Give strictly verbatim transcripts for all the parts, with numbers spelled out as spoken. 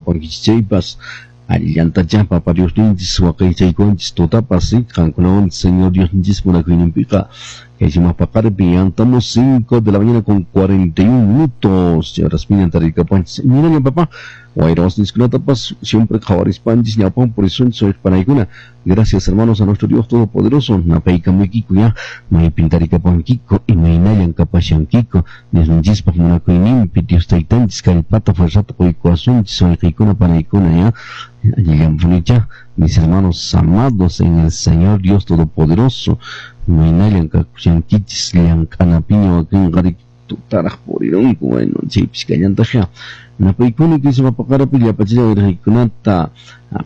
Kapankichis chaypas allillantacha Papa Diosninchis waqaychaykuwanchis tutapas qankunawan Señor Diosninchis munakuyninpiqa kay sumaq paqaripi. Ya estamos cinco de la mañana con cuarenta y un minutos. Rasminan tarikapanchis imaynallan, papá? Wayra wasninchikkunatapas siempre qhawarispanchis ñawpan purisunchis, panaykuna. Gracias, hermanos, a nuestro Dios Todopoderoso. Napaykamuykiku ya maypin tarikapankiko, imaynallan kapashankiko. Diosninchispaq munakuyninpi Dios Taytanchis kallpata fuerzata quykuwasunchis, wayqiykuna, panaykuna, ya allillanpunicha, mis hermanos amados en el Señor Dios Todopoderoso. Imaynallan kakushankichis llank'anapiña? Wakin qari tutaraq purirunku, bueno, chaypis kallantaqya. Napaykuni kay sumaq paqaripi llapachilla wirqaykunata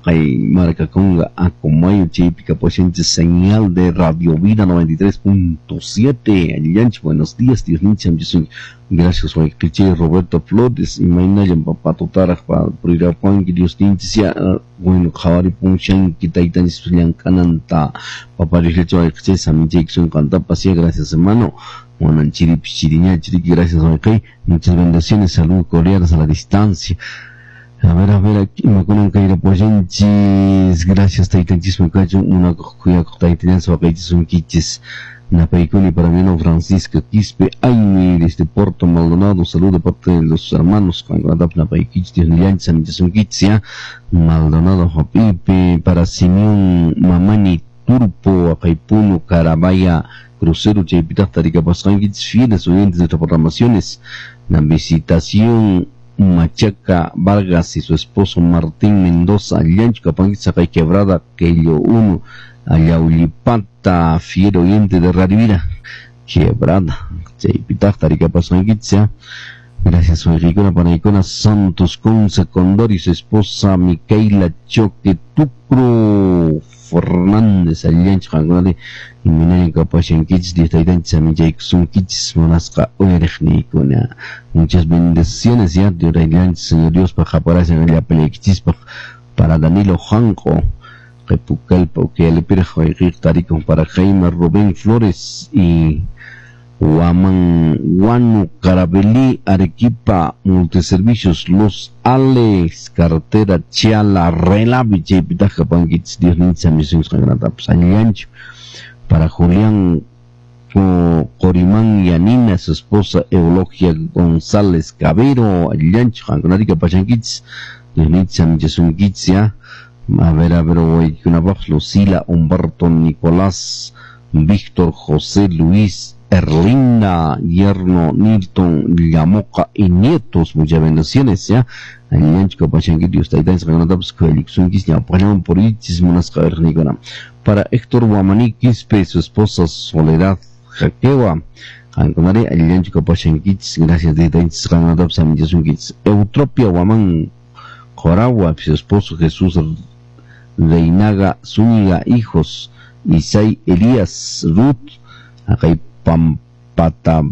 kay markakunga Acomayo chaypi kapushanchis señal de Radio Vida noventa y tres punto siete. Allillanchik, buenos días, Dios ninchis. Gracias, wayqichay Roberto Flores. Imaynallan, papá? Tutaraq purirapuanki. Dios ninchis ya, bueno, qhawaripunshanki taytanchis llank'ananta. Papa Diosllachu wayqichay saminchaykisun qantapas ya. Gracias, hermano. Bueno, chiripis chiriña chiriki. Gracias, wayqay. Muchas bendiciones, saludos cordiales a la distancia. A ver, a ver, aquí imakunan kayrapuwanchis. Gracias, taytanchis kachun, munakuq khuyakuq taytallanchis waqaychisunkichis. Napaykuni para mi hermano Francisco Quispe Aymi desde Puerto Maldonado. Saludo de parte de los hermanos. Napaykichis, Dios nillanchis amichasunkichis ya. Maldonado Japipe para Simeón Mamani Turpo, Acaypuno, Carabaya, Crucero, chaypitaq tarikapasqankichis, fieles oyentes de nuestras programaciones. La visitación Machaca Vargas y su esposo Martín Mendoza, Llancho Capanguicha, Quebrada, Quello uno, Ayaulipata, fiel oyente de Radio Vida, Quebrada, chaypitaq tarikapasqankichis. Gracias, wayqiykuna, panaykuna. Santos Conce Condor y su esposa Micaela Choque Tucro Fernández, allinchu qankunari? Imaynallan kapashankichis? Dios taytanchis aminchaykusunkichis, munasqa uyariqniykuna. Muchas bendiciones ya, Dios taytanchis, Señor Dios pa qaparashan llapallaykichispaq. Para Danilo Janco, Qepucalpa, Ucayalipiraq wayqiyq tarikun. Para Jaime Rubén Flores y Huaman Guano Carabelí, Arequipa, Multiservicios Los Ales, carretera Chiala, Relavi, chaypitaq kapankichis. Dios ninchis amisunchis allinchu. Para Julián Corimán Yanina, su esposa Eulogia González Cabero, allinchu qankunarika pachankichis? Dios ninchis amichasunkichis ya. A ver, a ver, waykunapaq Lucila, Humberto, Nicolás, Víctor, José Luis, Erlinda, yerno Nilton, Llamoca y nietos, muchas bendiciones, ya. Allinchu kapashanki? Dios taytanchis qankunatapas khuyalikusunkichis ñawpaqllaman purichis, munasqa uyariqniykuna. Para Héctor Guamaní Quispe y su esposa Soledad Jaquewa, qankunari allinchu kapashankichis? Gracias, taytanchis qankunatapas amichasunkichis. Eutropia Guamán Coragua, su esposo Jesús Reinaga Zúñiga, hijos Isai, Elías, Ruth, acá Pampata,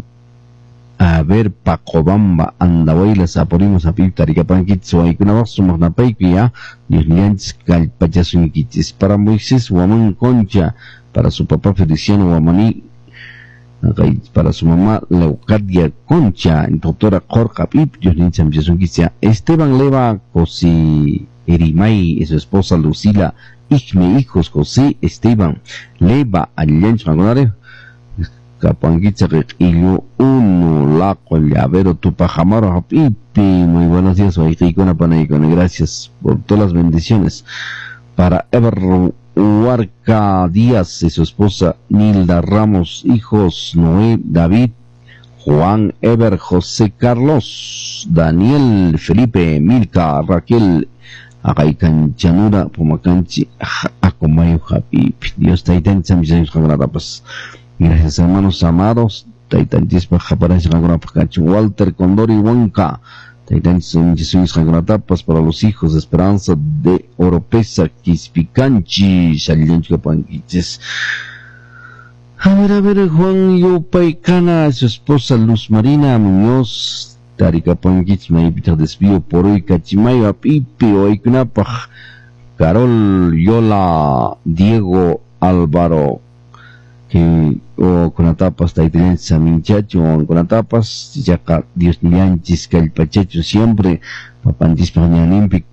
a ver, Pacobamba, Andahuaylas, Apurímac, Apip, Tarikapankichis, waykunapaq sumaq napayku ya, Dios nillanchis kallpachasunkichis. Para Moisés Guamán Concha, para su papá Feliciano Guamaní, para su mamá Leucadia Concha, doctora Jorge Pip, Dios ninchis. Esteban Leva Cosi Erimay y su esposa Lucila Igme, hijos José Esteban Leva, allinchu qankunari? Kapankicha Q'illu uno, Laco, Llavero, Tupac Amaru hap'ipi. Muy buenos días, wayqiykuna, panaykuna. Gracias por todas las bendiciones. Para Ever Huarca Díaz y su esposa Nilda Ramos, hijos Noé, David, Juan Ever, José Carlos, Daniel, Felipe, Milka, Raquel, Agaycanchanura, Pumacanchi, Acomayo, hap'ipi. Dios taytanchis. Gracias, hermanos amados. Taytanchispa qhaparasqa qankunapaq kachun. Walter Condori Huanca. Taytanchis qankunatapas. Para los hijos de Esperanza de Oropesa Quispicanchi. Allinchu kapankichis? A ver, a ver, Juan Yupaykana, su esposa Luz Marina Muñoz, tarikapankichis maypitaq desvío por hoy Cachimayo hap'ipi waykunapaq. Carol Yola, Diego Álvaro, que o kunatapas taytallanchis aminchachu kunatapas yaqa Dios nillanchis kallpachachu siempre papanchispaq ñanninpi.